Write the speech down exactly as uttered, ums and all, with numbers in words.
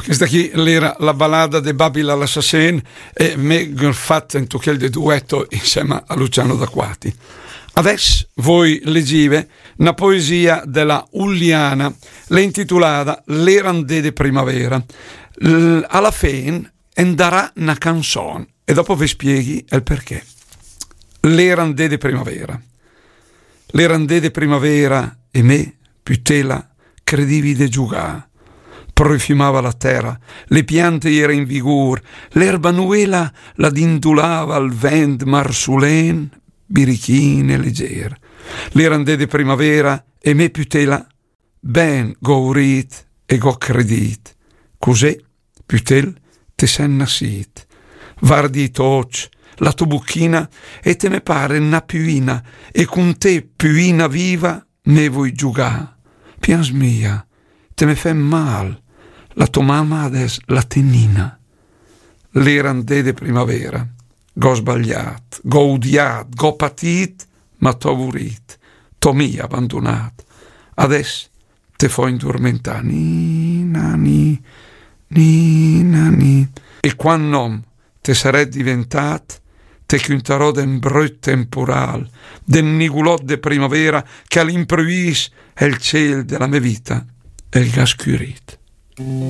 Questa chì l'era la balada de Babila l'assassen e me gh'ho fat en tochel de dueto insema a Luciano D'Acquati. Adess voi legive na poesia de la Ulliana, l'è intitulada L'era 'n dé de primavera. L-, a la fen en darà na canzon e dopo ve spieghi el perché. L'era 'n dé de primavera. L'era 'n dé de primavera e me, pütela, credivi de giugà. Profümava la tera, le piante iera in vigur, l'erba nuela la dindulava al vent marsulen, birichin e leger. L'era 'n dé de primavera e me, pütela, ben gh'ho urit e gh'ho credit. Cusè, pütel, te sen nassit. Vardi i to och, la to buchina, e te me pare na püina, e cun te, püina viva, me voi giugà. Pians mia, te me fem mal, la to mama adess la té nina. L'era 'n dé de primavera, gh'ho sbagliat, gh'ho udiat, gh'ho patit, ma t'ho vurit, t'ho mia abandunat. Adess te fo indurmentà, ni, na, ni, ni, na, ni. E quand n'om te saret diventat, te cüntarò d'en brüt tempural, d'en nigulot de primavera che a l'impruvis el ciel de la me vita el gh'ha scürit.